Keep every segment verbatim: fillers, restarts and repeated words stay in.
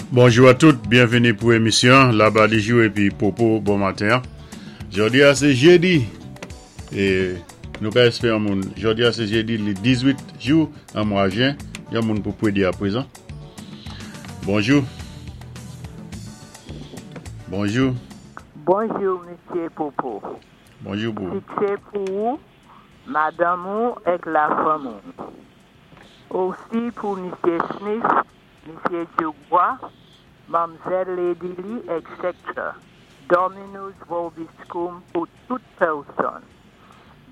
Bonjou a tout, byenvini pou émisyon Laba Dijou épi Popo bon maten. Jòdi-a sé jédi é nou ka èspéwé yon moun. Jòdi-a sé jédi li dizuit jou an mwa jen, yon moun pou pwédi a pwézan. Bonjou. Bonjou. Bonjou, Misyé Popo. Bonjou pou. Siksé pou ou, madanm ou èk lafanmi. Osi pou Misyé Smith, Misyé Dubois, Manmzèl Lady Lee, et cetera. Dominus vobiscum pou tout pèsonn.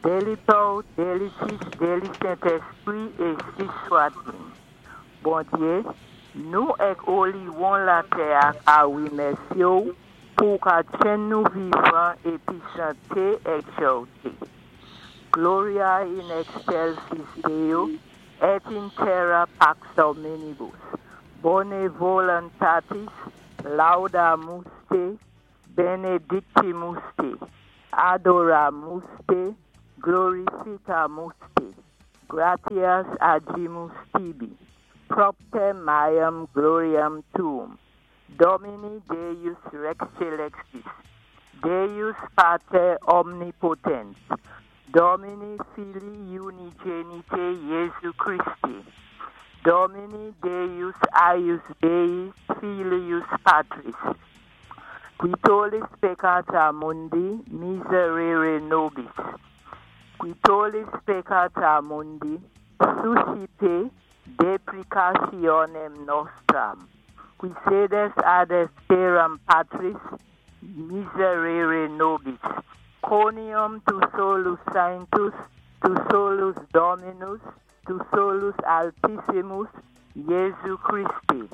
Dé Pè, dé Fis, dé Sentèspwi, énsi swat-il. Bondyé, nou èk oliwon latè-a ka wimèsyé-w pou ka tjenn nou vivan épi chanté èk jòwté. Gloria in excelsis Deo, et in terra pax hominibus. Bonae voluntatis, laudamus te, benedicimus te, adoramus te, glorificamus te, gratias agimus tibi, propter maiorem gloriam tuam, Domine Deus Rex Caelestis, Deus Pater omnipotens, Domini Filii unigenite Jesu Christi, Domini Deus eius Dei Filius Patris, qui tollis peccata mundi, miserere nobis. Qui tollis peccata mundi, suscipe deprecationem nostram. Qui sedes ad dexteram Patris, miserere nobis. Conium tu solus sanctus, tu solus Dominus, tu solus altissimus, Jesu Christe,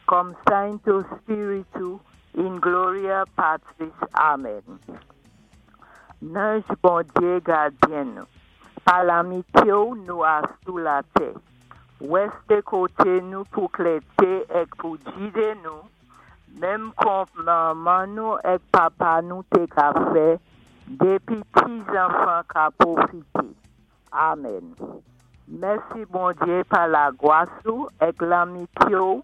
cum Sancto Spiritu, in gloria Patris. Amen. Nanj Bondyé gadyen nou. Pa lanmityé-w nou asou latè. Wèsté koté nou pou klèté èk pou gidé nou, menm kon manman nou èk papa nou té ka fè, dépi ti zanfan ka pwofité. Amen. Mèsi Bondyé pa lagwas ou èk lanmityé-w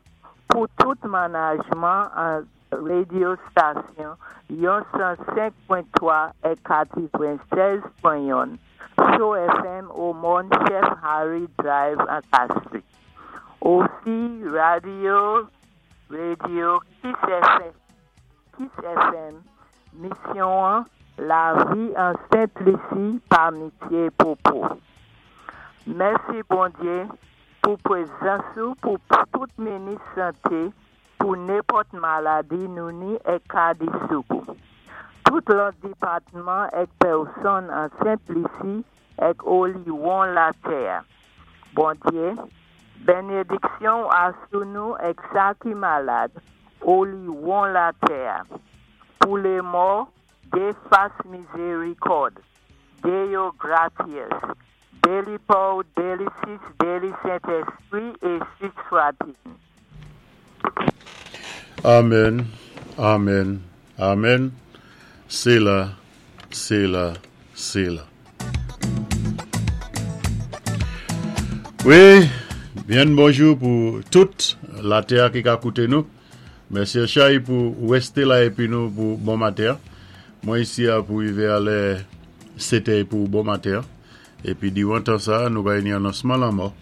pou tout manajman an radyo stasyon yon san senk pwen twa èk katèdwensèz pwen youn Cho F M o Mòn Chef Harry Drive an Castries. Osi radyo radyo Kiss F M, Kiss F M, misyon Lavi an Sent Lisi pa Misyé Popo. Mèsi Bondyé pou pwézans ou pou tout minis santé pou nenpòt maladi nou ni èk ka di soukou. Tout lòt dépatman èk pèsonn an Sent Lisi èk oliwon latè. Bondyé, bénédiksyon asou nou èk sa ki malad, oliwon latè. Pou lé mò, dé fas mizérikòd, Deo gratias, dé Pè, dé Fis, dé Sentèspwi, énsi swat-il. Amen, amen, amen. Séla, séla, séla. Wi, byen bonjou pou tout latè ki ka kouté nou. Mèsi Chay pou wèsté la épi nou pou bon maten. Mwen isi a pou wivé a lè sétè pou bon maten. Épi diwan tan sa, nou kay ni anonsman lanmò.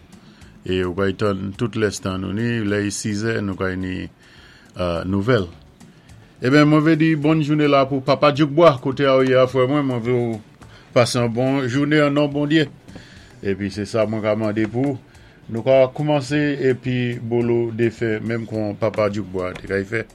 É ou kay tann tout lenstan nou ni, lè sizè, nou kay ni euh, nouvèl. Eben, mwen vé di bòn jouné la pou Papa Djoukbois, koté a ou yé a frè mwen, mwen vé ou pasé yon bon jouné an non Bondyé. Épi sé sa mwen ka mandé pou nou ka koumansé épi bolo défé menm kon Papa Djoukbois té kay fè.